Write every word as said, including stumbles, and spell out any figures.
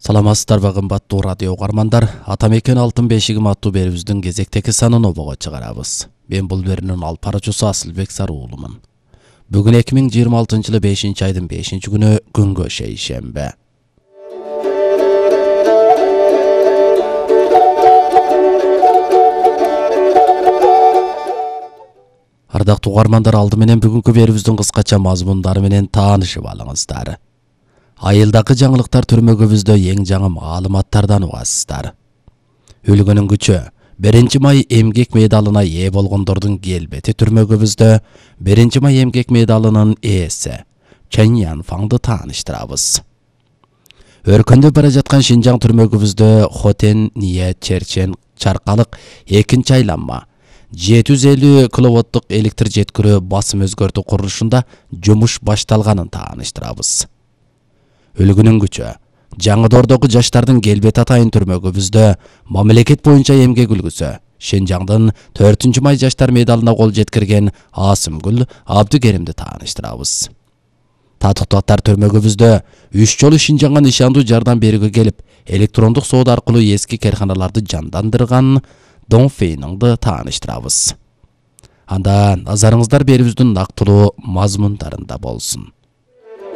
Саламатсыздарбы кымбаттуу радио угармандар, Ата мекен алтын бешигим аттуу берүүбүздүн кезектеги санын обого чыгарабыз. Мен бул берүүнүн алып баруучусу Асылбек Саруулумун. Бүгүн эки миң жыйырма алтынчы жылы бешинчи айдын бешинчи күнү күнгө шейшембе. Ардактуу угармандар, алды менен бүгүнкү берүүбүздүн кыскача мазмундары менен таанышып алыңыздар. Айылдагы жаңылыктар түрмөгүбүздө эң жаңы маалыматтардан угасыздар. Өлгөнүн күчү биринчи май эмгек медалына ээ болгондордун келбети түрмөгүбүздө биринчи май эмгек медалынын ээси Чен Янфаңды тааныштырабыз. Өркөндөп бара жаткан Шинжаң түрмөгүбүздө Хотен Ния Черчен Чаркалык экинчи айланма жети жүз элүү киловаттык электр жеткирүү басым өзгөртүү курулушунда жумуш башталганын тааныштырабыз. Өлгөнүн күчү Жаңыдордогу жаштардын келбети атайын түрмөгүбүздө мамлекет боюнча эмгек үлгүсү Шинжаңдын төртүнчү май жаштар медалына кол жеткирген Асымгүл Абдыгеримди тааныштырабыз. Татыктуулар түрмөгүбүздө үч жолу Шинжаңга нишандуу жардам берүүгө келип, электрондук соода аркылуу эски керканаларды жандандырган Дон Фейниңди тааныштырабыз. Анда назарыңыздар берүүбүздүн нактылуу мазмундарында болсун.